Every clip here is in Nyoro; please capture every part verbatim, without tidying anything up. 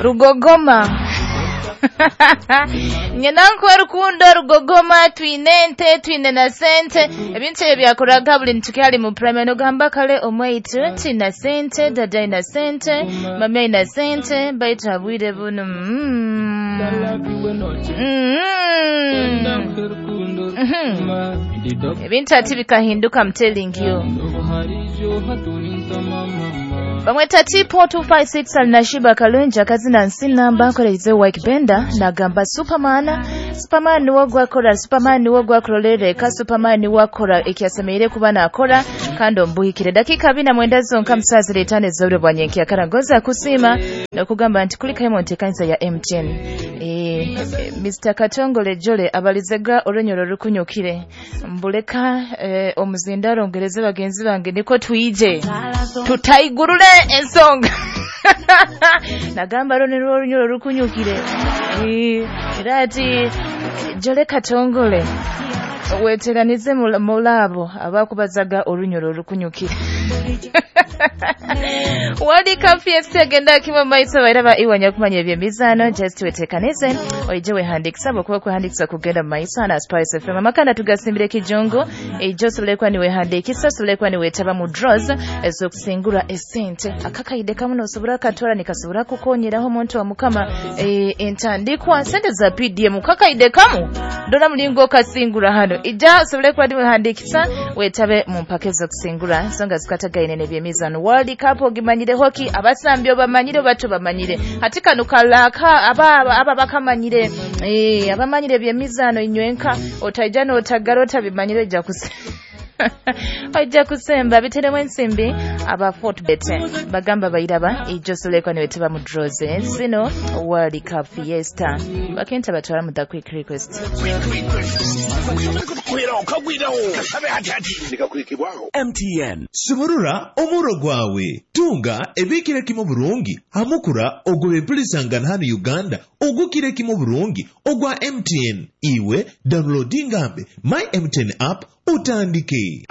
Rugogoma. Nyina nkuwe rukundo rugogoma, twine ente, twine na sente. Ebintu ebyo byakoraga buli ntukyali mu primary, nogamba kale omwaitu tina sente, dada ina sente, mami ina sente, baitu habwire bunu. Mm. Mm. Mhm. Ebintu ati bikahinduka, I'm telling you. Bamweta T four two five six alinashiba kalunja kazina nsinamba akoreize Wike Benda nagamba Superman. Superman niwo gwakora, Superman niwo gwakorolere, Superman niwo akora ekyasemeire kuba nakora kandi ombuhikire. Dakika abiri na mwenda zonka musazi letane zobure bwa nyenki akarangoza kusima nokugamba nti kulika Hemonte kanisa ya M T N. E, Mister Katongole Jole abalizega orunyoro rukunyukire mbuleka e, omuzindaro ngereze bagenzi bange niko tuije tutaigurule ensonga. Nagamba rone runyoro rukunyukire. E, era ati Jole Katongole weteranize mulabo abakubazaga orunyoro rukunyukire. Wali kafi agenda kimwe maiso bairaba iwanya kumanya ebyemizano just wetekaneze oije wehandikisa bokuba kuhandikisa kugenda maiso na Spice F M amakanda tugasimbire kijongo ejo solekwa ni wehandikisa solekwa ni wetaba mu draws ezokusingura esente akakaide kamuno osobora katwara nikasobora kukonyeraho omuntu wa mukama e, entandikwa sente za P D M kakaide kamu ndora mulingo kasingura hano ija solekwa ni wehandikisa wetabe mu mpaka ezokusingura nsonga zikatagaine n'ebyemizano World Cup ogimanyire hoki abasambyo bamanyire bato bamanyire hati kano kalaka aba aba bakamanyire eh abamanyire byemizano inywenka otaija n'otagara otabimanyire ja kuse ojja kusemba biteremu ensimbi aba Fortbet bagamba bayiraba ijo solekwa ni weteba mu draws zino World Cup Fiesta bakenta batwara mu the quick request. M T N sumurura omuro gwawe tunga ebikire kimo burungi hamukura ogobe mpulisangana hano Uganda ogukire kimo burungi ogwa M T N iwe downloadingambe my M T N app utandike.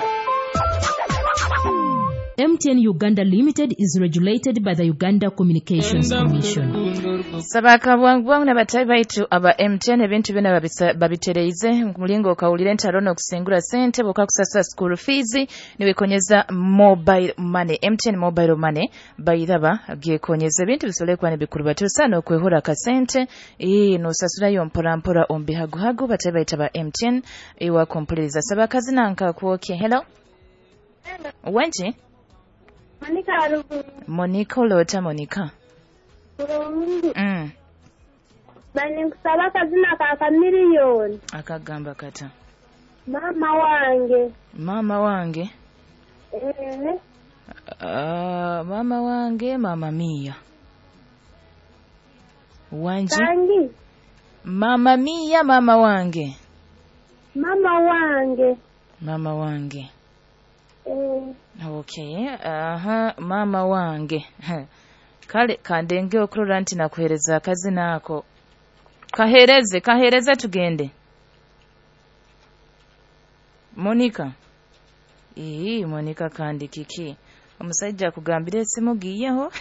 M T N Uganda Limited is regulated by the Uganda Communications Commission. Sabaka bwangu bwangu n'abatayi baitu aba M T N ebintu byona babitereize mulingo okawulira entarono okusingura sente bokakusasa school fees niwekonyeza mobile money. M T N mobile money bayiraba gyekonyeza ebintu bisolekwa n'ebikuru batusa n'okwehora kasente eh nosasulayo mpora mpora ombihaguhagu batayi baitu aba M T N ewa kompuliriza. Sabaka zinanka kuoke. Hello. Wenji? Monica Arubu. Monica olota Monica. Bulungi. Mm. Bani nkusaba kazina ka kamiliyoni. Akagamba kata. Mama wange. Mama wange. Eh. Uh, mama wange mama mia. Wanji. Kangi. Mama mia mama wange. Mama wange. Mama wange. Eh. Okay, aha, mama wange. Kale kandenge okurora nti nakuhereza akazina ako. Kahereze, kahereze tugende. Monica. Ii, Monica kandi kiki. Omusajja akugambire esimu giyeho.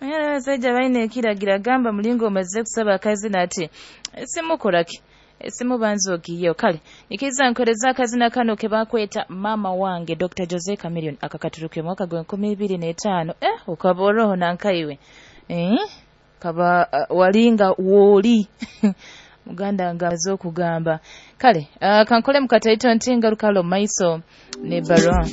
Manyana abasajja balina ekiragira gamba mulingo omaze kusaba akazina ati esimu koraki. Esimu banzo giyeho. Kale nikiza nkoreza akazina kano ke bakweta mama wange Doctor Jose Chameleone akakaturuke mwaka gwa nkumi ibiri na etaano. Eh ukaboroho nankaiwe. Eh kaba uh, walinga woli. Muganda nga azokugamba. Kale uh, kankole mukataito ntinga rukalo maiso ne barua.